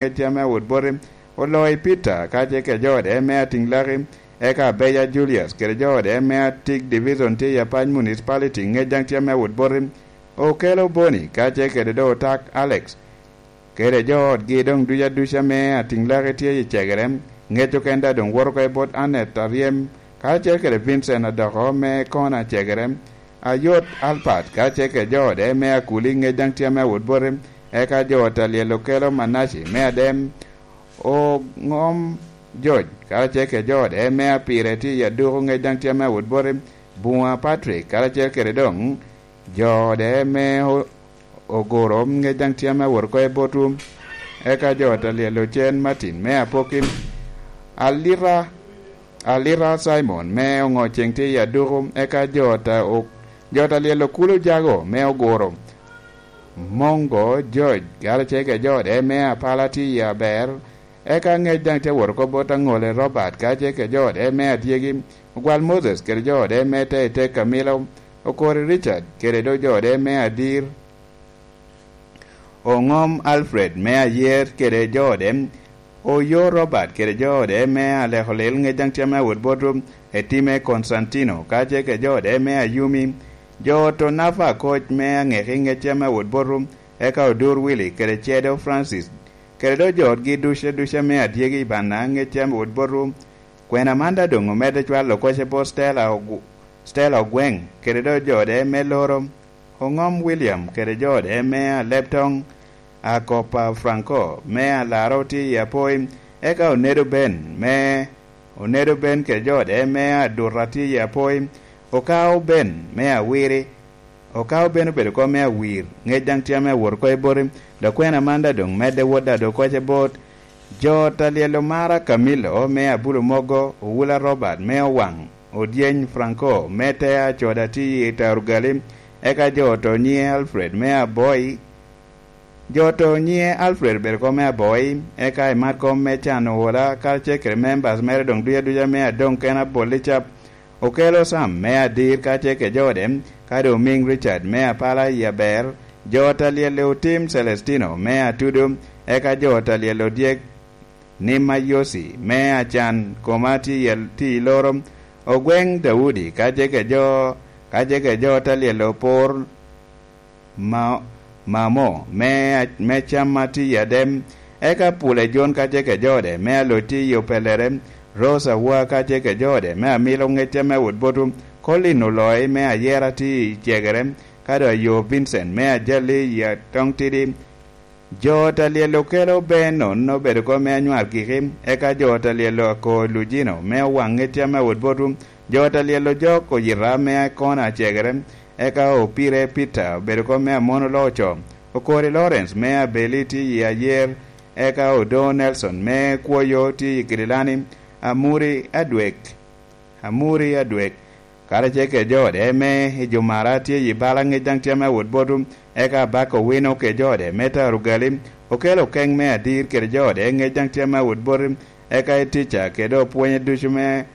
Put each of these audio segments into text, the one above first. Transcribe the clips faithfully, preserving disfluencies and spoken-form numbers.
ŋec tye ame awot boti, Oloi Peter, ka tye kede jo ode me Atiŋlaki, eka Abeya Julius, kede jo ode me Atik Division tye i Apac Municipality, ŋec daŋ tye ame awot boti, Okelo Boni, ka tye kede do Otak Alex, kede jo otgi doŋ duc aduca me Atiŋlaki tye i Cegere, ŋec oken daŋ doŋ woto oko i bot Annet Aryem, karacel kede Vincent Adoko me Kona Cegere, Ayot Albert, karacel kede jo ode me Akuli, ŋec daŋ tye ame awot boti, eka jo ot alyel Okelo Manaci me Adem, Oŋom George, karacel kede jo ode me Apire tye i Aduku, ŋec daŋ tye ame awot boti, Buŋa Patrick, karacel kede doŋ jo ode me O-, Ogoro, ŋec daŋ tye ame awot oko i botwu, eka jo ot alyel Ocen Martin me Apoki, Alira, Alira Simon me Oŋo Ceŋ tye i Aduku, eka jo ot a-, o-, jo ot alyel Okulo Jago me Ogoro, Mongo George, karacel kede jo ode me Apala tye i Aber, eka ŋec daŋ tye awot oko bot Aŋole Robert, karacel kede jo ode me Adyegi, Ogwal Moses kede jo ode me Teitei Kamilo, Okori Richard kede do jo ode me Adir, Oŋom Alfred me Ayer kede jo ode, Oyo Robert kede jo ode me Aleko Lil, ŋec daŋ tye ame awot botwu, Etime Constantino, karacel kede jo ode me Ayumi, jo ot Onafa Akoc me Aŋeki, ŋec tye ame awot botwu, eka Odur Willy kede Cedo Francis, kede do jo otgi duce duce me Adyegi i Banna, ŋec tye ame awot botwu. Kwena man daŋ doŋ omedde cwalo kocce bot Stella Ogu-, Stella Ogweŋ, kede do jo ode me Loro, Oŋom William kede jo ode me Aleptoŋ, Akopa Franco me Alaro tye i Apoi, eka Onedo Ben me, Onedo Ben kede jo ode me Aduta tye i Apoi, Okao Ben me Awiri, Okao Ben obedo kom me Awir, ŋec daŋ tye ame awot oko i boti, dok kwena man daŋ doŋ medde wot daŋ doŋ kocce bot jo ot alyel Omara Camillo me Abulu Mogo, Owula Robert me Owaŋ, Odyeny Franco me Tea Coda tye i Tarugali, eka jo ot onyiŋe Alfred me Aboi, jo ot onyiŋe Alfred obedo kom me Aboi, eka i mat kom me Can Owola, karacel kede members mere doŋ duc aduca me Adoŋ Ken Abolli Cap, Okelo Sam me Adir, karacel kede jo ode, ka doŋ Omiŋ Richard me Apala i Aber, jo ot alyel Otim Celestino me Atudu, eka jo ot alyel Odyek Nima Yosi me Acan, Koma tye i, tye i Loro, Ogweŋ Daudi, karacel kede jo, karacel kede jo ot alyel Opor Ma-, Mamo me, me Cam ma tye i Adem, eka Pule Jon karacel kede jo ode me Aloc tye i Opelere, Rose Awa karacel kede jo ode me Amilo, ŋec tye ame awot botwu, Colin Oloi me Ayera tye i Cegere, ka doŋ Ayo Vincent me Ajali i Atoŋtidi, Jo ot alyel Okelo Benon obedo kom me Anywar Giki, eka jo ot alyel Ako Lujino me Owaŋ, ŋec tye ame awot botwu, jo ot alyel Ojok Oyita me Akona Cegere, eka Opire Peter obedo kom me Amon Oloco, Okori Lawrence me Abeli tye i Ayer, eka Odo Nelson me Kwoyo tye i Kirilani, Amuri Adwek, Amuri Adwek, karacel kede jo ode me Ejumara tye i bala, ŋec daŋ tye ame awot botwu, eka Abaka Owino kede jo ode me Tarugali, Okelo Okeŋ me Adir kede jo ode, ŋec daŋ tye ame awot botwu, eka Etica kede opwonye ducu me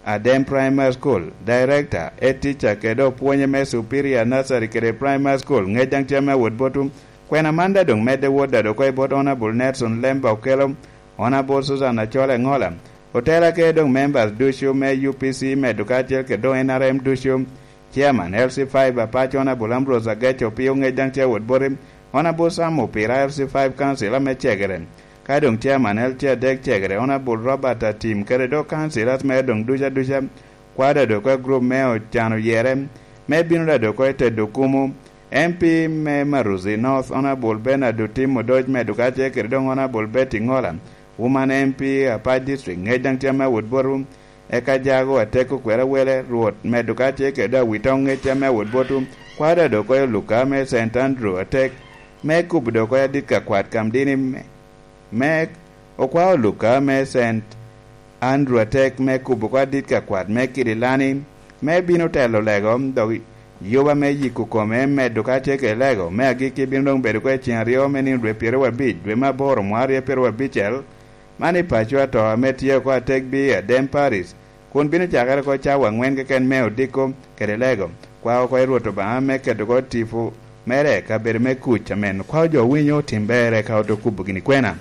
Adem Primary School, Director, Etica kede opwonye me Superior Nursery kede Primary School, ŋec daŋ tye ame awot botwu. Kwena man daŋ doŋ medde wot daŋ oko i bot Honorable Nelson Lemba Okelo, Honorable Susan Acol Eŋola, Otela kede doŋ members ducu me U P C medo kacel kede doŋ N R M ducu, Chairman L C five Apac Honorable Ambrose Agec Opio, ŋec daŋ tye awot boti, Honorable Sam Opira, L C five Council ame Cegere, ka doŋ Chairman L C adek Cegere, Honorable Robert Atim, kede doŋ councillors mere doŋ ducu aduca, kwao daŋ oko i group me Ocan Oyere, me bino daŋ oko i tedo kumo, M P me Maruzi North, Honorable Bernard Otim Odoc medo kacel kede doŋ Honorable Betty Ŋola, Woman M P Apac District, ŋec daŋ tye ame awot botwu, eka Jago Atek Okwero Awele, Rwot medo kacel kede doŋ Awitoŋ, ŋec tye ame awot botwu, kwao daŋ oko i Oluka me Saint Andrew Atek, me kubo doŋ oko i adit ka kwat Kamdini me, me okwao Oluka me Saint Andrew Atek, me kubo oko adit ka kwat me Kirilani, me bino telo lego, dok yuba me yiko kome medo kacel kede lego me agikki bino doŋ bedo oko i ceŋ aryo me nino dwe pyeraryo abic, dwe me aboro, mwaka aryo pyeraryo abicel, man i paco ato ame tye oko atek bi Adem Paris, kun bino cakere oko cawa aŋwen keken me odiko kede lego, kwao oko i Rwot Obaŋa me keto oko tipo mere i kabedo me kuc amen. Kwao jo winyo otim ber eka ote kubo gini kwena.